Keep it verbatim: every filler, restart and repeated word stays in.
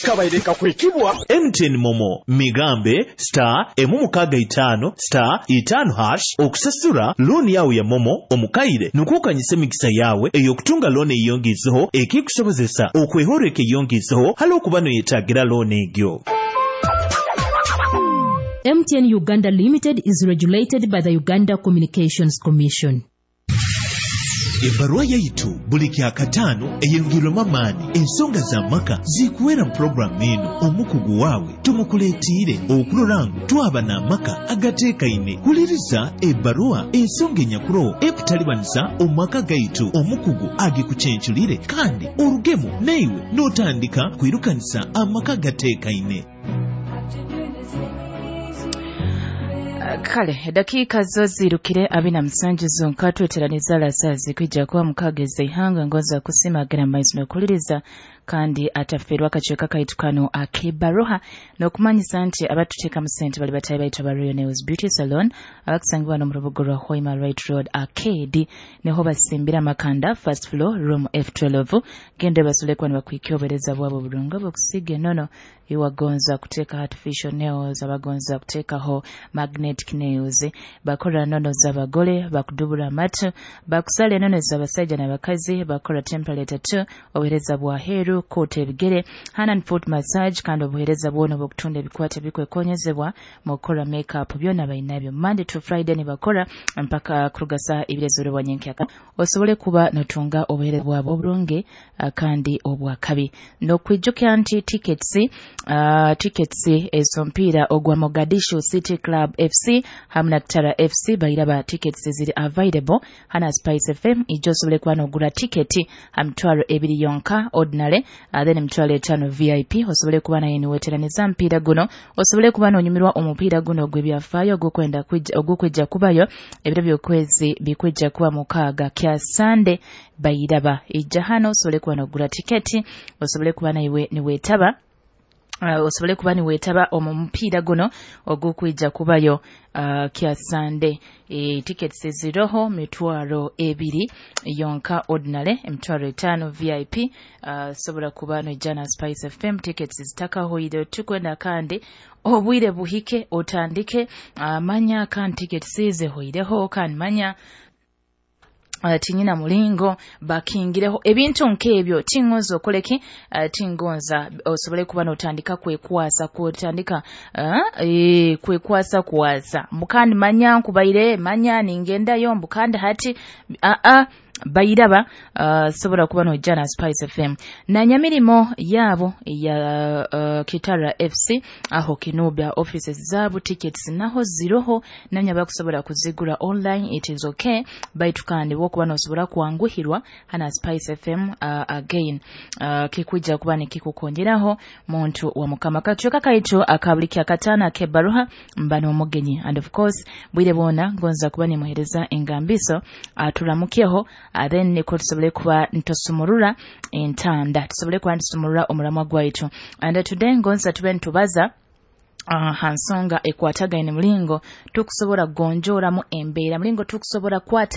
Kabaire kakwikibwa M T N MoMo migambe star emu mukaaga itaano star itaano hash okusasura looni yawe ya MoMo omukaire, nukwo okanyisa emikisa yawe ey'okutunga looni eyongizeho, ekikusobozesa okwehoreka eyongizeho hali okuba noyetagira looni egyo. M T N Uganda Limited is regulated by the Uganda Communications Commission. Ebbaruwa yaitu buli kyakataano eyongerwemu amaani. Ensonga z'amaka zikuwera mu puroguramu eno. Omukugu waawe tumukuleetiire okurora ngu twaba n'amaka agateekaine. Huliriza ebbaruwa, ensonga enyakuroho ekutalibaniza omu maka gaitu, omukugu agikucenculire kandi orugemu naiwe n'otandika kwirukanisa amaka gateekaine. Kale dakiika zo zirukire abina musanju zonka, tweteraniza lasazi kwijja kuba mukaaga ihanga. Ngonza kusimagira maiso nokuliriza kandi ataferwa akacweka kaitu kano ak'ebbaruha, n'okumanyisa nti abatuteekamu sente bali batayi baitu aba Royal Nails Beauty Salon, abakusangibwa no mu rubuga rwa Hoima Right Road Arcade, niho basimbira amakanda, first floor, room F twelve. Genda basole kuba nibakwikya obuheereza bwabo burungi obukusiiga enono. Iwagonza kuteeka artificial nails, abagonza kuteekaho magnetic nails, bakora nono z'abagole, bakudubura amatu, bakusala enono z'abasajja n'abakazi, bakora temporary tattoo, obuheereza bwa heeru, koota ebigere, hand and foot massage, kandi obuheereza bwona obw'okutunda ebikwate bikwekonyezebwa mu kukora makeup, byona bainabyo. Monday to Friday nibakora mpaka kuruga saa ibiri ez'orobwa nyenkyaka, osobole kuba notunga obuheereza bwabo oburungi uh, kandi obwakabi. N'okwijukira nti tickets uh, tickets ez'omupiira ogwa Mogadishu City Club F C hamu na Kitara F C bairaba, tickets ziri available hana Spice F M. Ijo osobole kuba nogura tiketi ha mitwaro ebiri yonka ordinary, uh, then emitwaro etaano V I P, osobole kuba naye niweteraniza mpiira guno, osobole kuba nonyumirwa omupiira guno ogw'ebyafaayo ogw'okwenda ogw'okwija kubayo ebiro by'okwezi bikwijja kuba mukaaga kya Sande. Bairaba ijja hano osobole kuba nogura tiketi, osobole kuba naiwe niweetaba uh, osobole kuba niweetaba omu mupiira guno ogw'okwija kubayo uh, kya Sande. E, tickets ziroho mitwaro ebiri yonka ordinary, emitwaro etaano V I P. uh, sobola kuba noija na Spice F M, tickets zitakahoire. Tukwenda kandi obwire buhike otandike uh, manya kandi tickets zihoireho, kandi manya uh, tinyina mulingo bakingireho ebintu nk'ebyo. Tingonza okoleki, uh, tingonza osobole kuba notandika kwekwasa, kutandika uh, e, kwekwasa kwasa mbukandi manya nkubaire manya ningendayo mbukandi hati uh, uh, bairaba. uh, sobola kuba nojja na Spice F M na nyamirimo yaabo ya uh, Kitara F C aho Kinubya offices zaabo, tickets naho ziroho, nanya bakusobola kuzigura online, it is okay. Baitu kandi wokuba nosobola kwanguhirwa hana Spice F M, uh, again uh, kikwijja kuba nikikukongeraho muntu wa mukama. Kacweka kaitu akabuli kyakataano ak'ebbaruha mba n'omugenyi, and of course bwire bwona ngonza kuba nimuhereza engambiso aturamukyeho, uh, then niko tusobole kuba ntusumurura entanda, tusobole kuba ntusumurura omulamwa gwaitu. And uh, today ngonza tube ntubaza uh, ha nsonga ekwatagaine mulingo tukusobola kugonjooramu embeera, mulingo tukusobola kwata